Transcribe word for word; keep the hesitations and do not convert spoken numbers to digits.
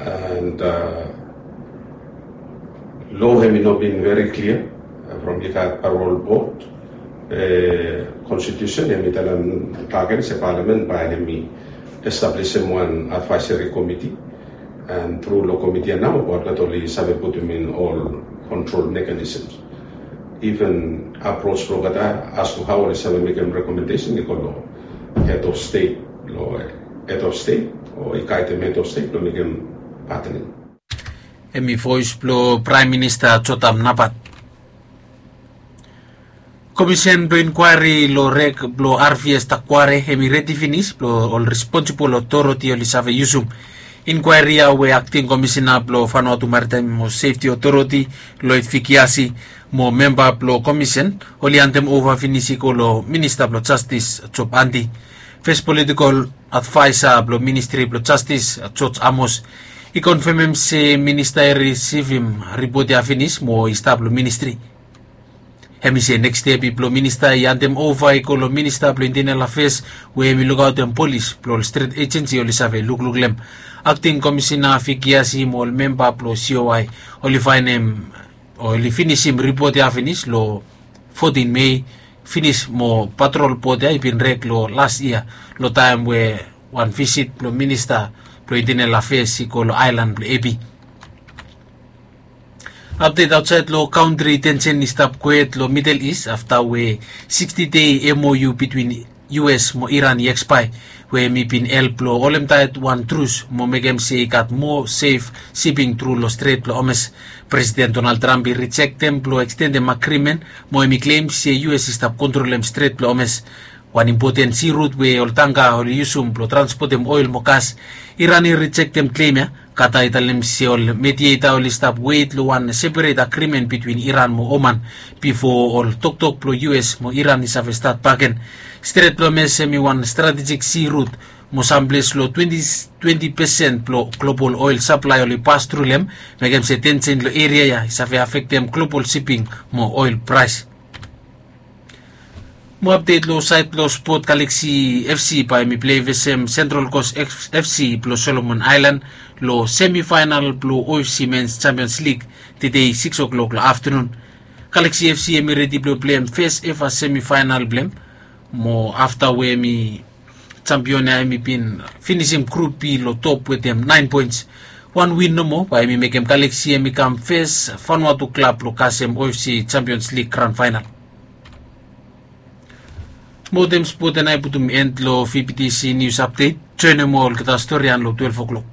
And lo hemi no bin veri klia from i gat parol bot. Konstitusen hemi talem bagen se palamen bae hemi establisim wan advaiseri komiti. And tru long komiti ya nao bot oli save putum in ol kontrol mekanisms. Even apros blong olgeta as tu hao oli save mekem rekomendesen i go long hed of stet, long hed of stet o i gaidem hed of stet blong mekem patening. Hemi voes blong praem minista jotam nabat. Komisen blong inkwaeri long rek blong arvies takware hemi redi finis blong ol responsibol otoriti oli save yusum. Inkwaeri ya we akting komisena blong fanuatu maritaem mo sefti otoriti, loid fikiasi, mo memba blong komisen oli andem ova finis i go long minista blong jastis job andi. Fes politikol advaesa blong ministri blong jastis, joj amos, i konfemem se minista i risivim ripot ya finis mo i stap long ministri. Hem i se neks step i blong minista i andem ova i go long minista blong intenel afes, we hem i lukaotem polis blong ol stret ejensi oli save lukluk long hem. Akting komisena fikiasi mo ol memba blong coi oli faenem oli finisim ripot ya finis long fotin mei, finis mo patrol bot ya i bin rek long las yia, long taem we wan visit blong minista blong intenel afes i go long aelan blong epi. Apdet aotsaed long kantri, tensen i stap kwet long midel is afta we siksti dei mou bitwin us mo iran i ekspae, we hem i bin help long holemtaet wan trus mo mekem se i gat moa sef siping tru long stret blong omes. Presiden donald tramp i rijektem blong ekstendem agrimen, mo hem i klem se us i stap kontrolem stret blong omes, wan impoten sirut we ol tangka oli yusum blong transpotem oel mo gas. Iran i rijektem klem ya. Kata i talem se ol medieta oli stap weit long wan seperet agrimen bitwin iran mo oman, bifo ol toktok blong us mo iran i save stat baken. Stret blong omes hem i wan stratejik sirut mo samples long twenti pesen blong global oel saplae oli pas tru long hem, mekem se tensen long eria ya i save afektem global siping mo oel praes. Mo apdet long saed blong spot, galaksi fc bae hem i plei vesem sentral kos fc blong solomon aelan long semifaenal blong ofc mens jampions lig tedei siks o'klok long aftenun. Galaksi fc hem i redi blong pleim fes eva semifaenal blong hem, mo afta we hem i jampion ya hem i bin finisim grup b long top wetem naen poens. Wan win nomo bae hem i mekem galaksi hem i kam fes fanuatu klab blong kasem ofc jampions lig gran faenal. Mo wetem spot ya nao i putum en long vptc nius apdet. Joenem olgeta storian long twelef o'klok.